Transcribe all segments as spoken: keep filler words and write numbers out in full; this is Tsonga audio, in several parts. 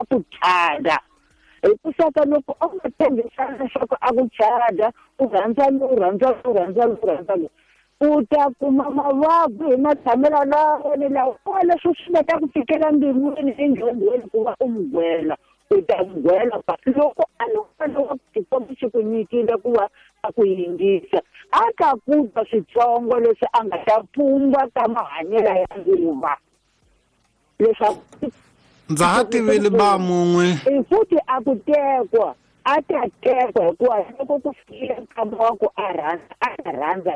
ku chada. Hikuva loko a nga tshembisana leswaku a ku chada, u rhandza lowu, u rhandza lowu, u rhandza lowu, u rhandza lowu, u ta kuma mavabyi hi matshamelo lawa ni lawa leswi swi nga ta ku fikela mbilwini endyondweni ku va u n'wi gwela. U ta n'wi gwela loko a loko xikwembu xi ku nyikile ku va a ku yingisa, a ta ku twa switsongo leswi a nga ta pfumba ka mahanyelo ya nguva. Leswaku ndza ha tivile ba mun'we futhi a ku tekwa, a ta tekwa hikuva loko ku fikile nkama wa ku a rhandza, a ta rhandza.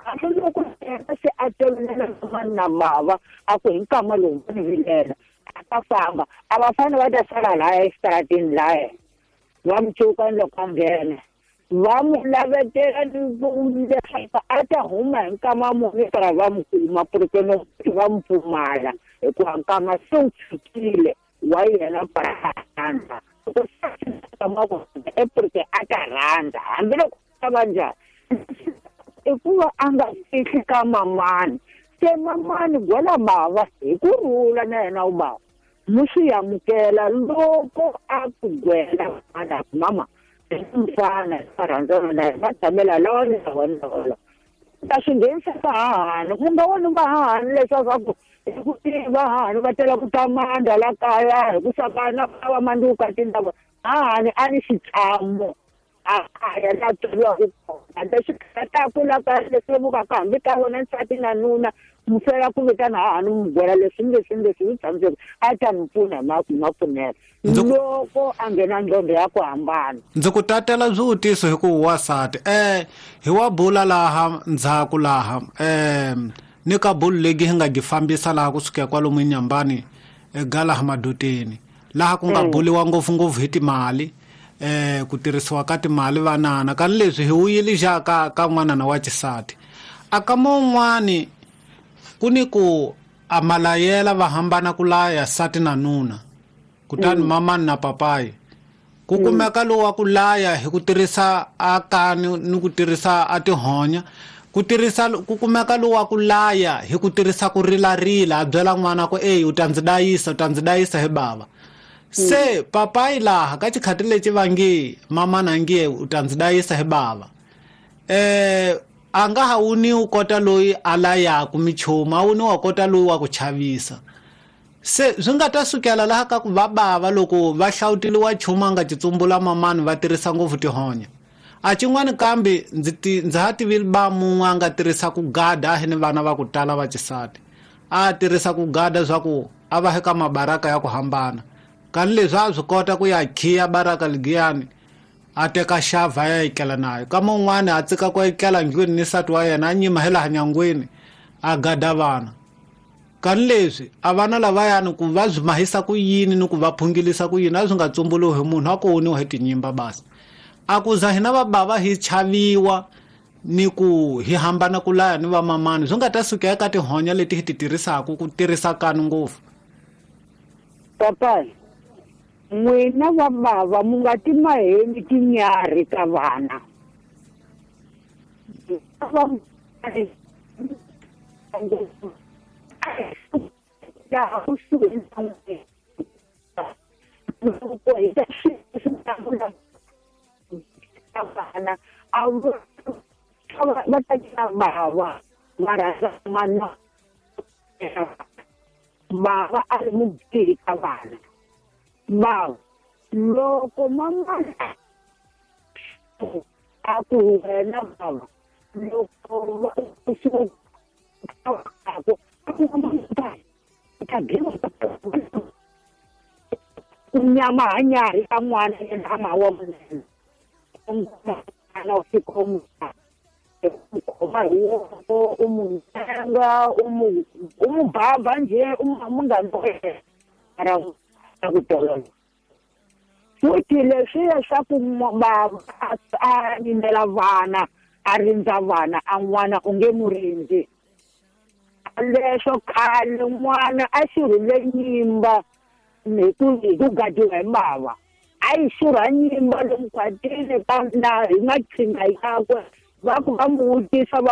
Hambiloko se a tolovela mani na mava a ku hi nkama lowu va ni vilela, a ta famba. A va fanele va ta sala laya exitarateni laya, va mi cuka ni loko a nghena, va n'wi lavetela leswaku a ta huma hi nkama muni para va n'wi kuma, porque no va n'wi pfumala hikuva nkama se wu fikile wa yena para a rhandza. Loko se nkama wa kona porque a ta rhandza hambiloko a va njhani, i ku va a nga fihli ka mamani. Se mamani gwela mava hi ku rhula na yena wu bava mu swi amukela loko a ku gwela mana mama mfana a rhandzana na yena, va tshamela lawa ni lawa ni lawa. Ta swi nghenisa vahahani, ku nga voni vahahani leswaku hi ku tiva vahahani va tela ku ta mandla la kaya hi ku sakana va manduka tindhawu. Hahani a ni xitshamo a kaya la tswariwaka kona, leswi khataka la kaya leswi vukaka hambi ka wona nsati na nuna, mufela ku vitana hahani mu gwela leswi ni leswi ni leswi swi tshamiseke, a ta mi pfuna hi mapfunelo loko a nghena ndlondlo ya ku hambana. Ndzi ku tatela swivutiso hi ku wasati eh hi wa bula laha ndzhaku laha eh ni ka bulu legi hi nga gi fambisa laha kusuka kwalomu eNyambani ega laha madoteni laha ku nga buliwa ngopfungopfu hi timali eh ku tirhisiwa ka timali vanana ka leswi hi wuyile ja ka ka n'wanana wa xisati. A ka mun'wani ku ni ku amalayela va hambana ku laya sati na nuna, kutani mamani na papayi ku kumeka lowu wa ku laya hi ku tirhisa akani ni ku tirhisa a tihonya, ku tirhisa ku kumeka lowu wa ku laya hi ku tirhisa ku rilarila a byela n'wana ku ey u ta ndzi dayisa, u ta ndzi dayisa hi bava. Se papayi laha ka xikhati lexi va nge mamana nge u ta ndzi dayisa hi bava, eh a nga ha wuni u kota loyi a layaku michumu, a wuni wa kota loyi wa ku chavisa. Se swi nga ta sukela laha ka ku va bava loko va hlawuteliwa nchumu a nga titsumbula mamani va tirhisa ngopfu tihonya. A xin'wani kambe ndzi ti ndzi ha tivile ba mun'we a nga tirhisa ku gada a hi ni vana va ku tala va xisati, a tirhisa ku gada swa ku a va eka mabaraka ya ku hambana, kani leswi a swi kota ku ya khiya baraka ligiyani a teka xava ya etlela nayo. Ka mun'wani a tsika ku etlela ndlwini ni nsati wa yena a nyima hi laha nyangweni a gada vana. Kani leswi a vana lavayani ku va byi mahisa ku yini ni ku va phungilisa ku yini a swi nga tsumbuluwi hi munhu, a ku woniwa hi tinyimba basi. A ku za hina va bava hi chaviwa ni ku hi hambana ku laya ni vamamani, swi nga ta suka eka tihonya leti hi ti tirhisaka ku tirhisa kani ngopfu. Papa, n'wina va bava mu nga ti maheni tinyarhi ka vana. Vana a va ta bava va rhandza mana bava a ri mubihi ka vana. Bava loko mamana a ku wena bava loko nyama hanyarhi ka n'wana yena a ma wa munene n'wana u fika u n'wi khoma hi voko u n'wi nyenga u n'wi u n'wi baba njhe u munghana wa yena ra ku tolovela. Futhi leswiya swa ku bava a yimela vana a rindza vana a n'wana u nge n'wi rindzi. Leswo khale n'wana a xurhile nyimba hi ku hi ku gadiwa hi bava, a yi xurha nyimba lomu khwatini na hi maqhinga yakwe va ku va n'wi vutisa va